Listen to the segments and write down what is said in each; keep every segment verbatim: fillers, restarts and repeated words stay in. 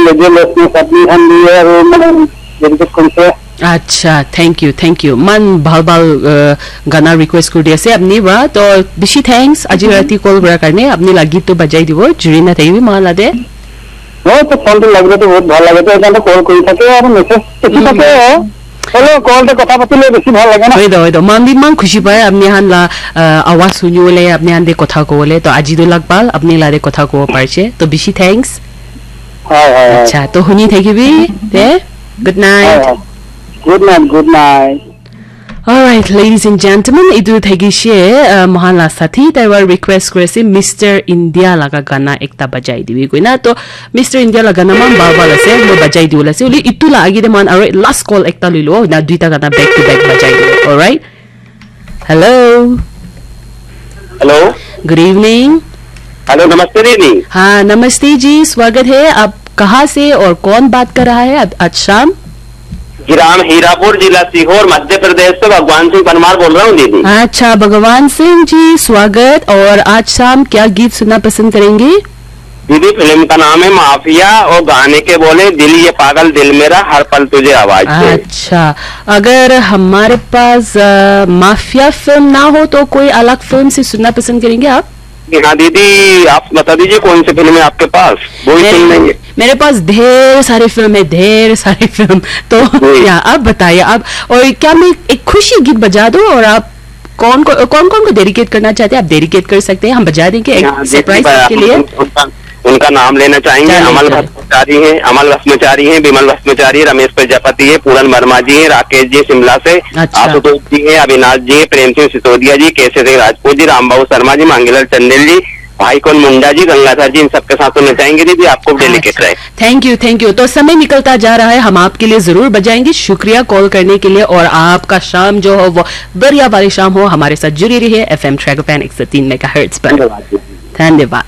Legend Rosni Sapni khan bi aru mane dedicate korise. Acha, thank you, thank you. Man bhal bhal uh, gana request kuri di ase apni pra. To bishi thanks. Aji rati call kura karne apni la git to bajai dibo. Juri na thakibi mahala de. Moi to phone to lagile to bahut bhal lage to ekdom call kuri thake aru message to ki thake. Hello, call to kotha patile besi bhal lage na. Hoi do, hoi do. Man bi man khushi pai apni han la uh, awaz suni bole apni han de kotha ko bole. To aji do lag bhal apni la de kotha ko parche. To bishi thanks. Hoi, hoi, hoi. Acha, to huni thakibi de. Good night. Hoi, hoi. Good night, good night. Alright, ladies and gentlemen, itu thakishe uh, mohan la sathi tai wa request kuri ase Mister India laga gana ekta bajai dibi koina. To Mister India laga gana man bhal bhal ase, moi bajai diwole ase. Holi itu la age de mohan aro last call ekta loi lo na, duita gana back to back bajai dibo. Alright. Hello. Hello. Good evening. Hello, namaste didi. हाँ, नमस्ते जी, स्वागत है। आप कहाँ से और कौन बात कर रहा है आज शाम? ग्राम हीरापुर, जिला सीहोर, मध्य प्रदेश से भगवान सिंह परमार बोल रहा हूँ दीदी। अच्छा, भगवान सिंह जी, स्वागत। और आज शाम क्या गीत सुनना पसंद करेंगे? दीदी, फिल्म का नाम है माफिया और गाने के बोले, दिल ये पागल दिल मेरा, हर पल तुझे आवाज दे। अच्छा, अगर हमारे पास अ, माफिया फिल्म ना हो तो कोई अलग फिल्म से सुनना पसंद करेंगे आप? जी हाँ दीदी, आप बता दीजिए कौन सी फिल्म है आपके पास, वही मेरे, सुन लेंगे। मेरे पास ढेर सारे फिल्म है, ढेर सारे फिल्म। तो जी। या, आप बताइए, आप, और क्या मैं एक खुशी गीत बजा दूं और आप कौन को कौन कौन को डेडिकेट करना चाहते हैं, आप डेडिकेट कर सकते हैं, हम बजा देंगे एक यहाँ देखिए सरप्राइज भाई, आपके आप लिए। उनका, उनका नाम लेना चाहेंगे। चलिए, अमल चलिए। भट्टाचारी हैं, अमल भस्माचारी हैं, विमल भस्माचारी, रमेश प्रजापति है, पूरन वर्मा जी हैं, राकेश जी शिमला से, अच्छा। आशुतोष जी हैं, अविनाश जी हैं, प्रेम सिंह सिसोदिया जी, केशव सिंह राजपूत जी, रामबाबू शर्मा जी, मांगीलाल चंदेल जी, भाई कौन मुंडा जी, गंगाधर जी, इन सबके साथ में चाहेंगे दीदी, आपको डेडिकेट रहे। Thank you, thank you. तो समय निकलता जा रहा है, हम आपके लिए जरूर बजाएंगे। शुक्रिया कॉल करने के लिए, और आपका शाम जो हो वो दरिया वाली शाम हो, हमारे साथ जुड़ी रहिए एफ एम ट्रैगोपैन एक सौ तीन मेगा हर्ट्ज पर। धन्यवाद।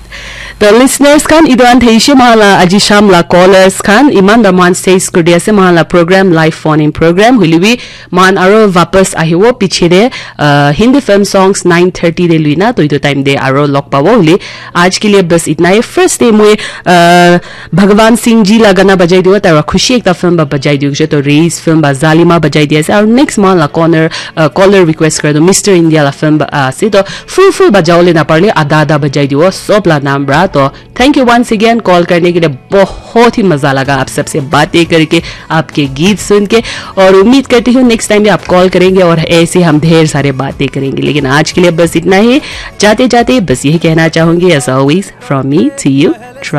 तो लिसनर्स खान, इदवान थे इशे माला अजी शाम ला कॉलर्स खान, इमान दमान स्टेज को दिया से माला programme, live phone in programme हुई भी मान आरो वापस आहिवो पीछे दे, अ, Hindi film songs nine thirty दे लुइना, तो इदो टाइम दे आरो लॉक पावो हुली। आज के लिए बस इतना ही। फर्स्ट डे मुए, अ, भगवान सिंह जी ला गाना बजाई दियो, तारा खुशी एकता फिल्म बा बजाई दियो, तो रेस फिल्म बा जालिमा बजाई दिया से, और नेक्स्ट मान ला कॉर्नर, अ, कॉलर रिक्वेस्ट कर दो, मिस्टर इंडिया ला फिल्म बा, अ, से, तो फुल फुल बजाओ लेना पड़े, आधा आधा बजाई दियो, सब ला नाम बा, तो Thank you once again call करने के लिए, बहुत ही मजा लगा आप सबसे बातें करके, आपके गीत सुन के, और उम्मीद करती हूँ नेक्स्ट टाइम भी आप कॉल करेंगे और ऐसे हम ढेर सारे बातें करेंगे। लेकिन आज के लिए बस इतना ही। जाते जाते बस यही कहना चाहूंगी, as always, from me to you, try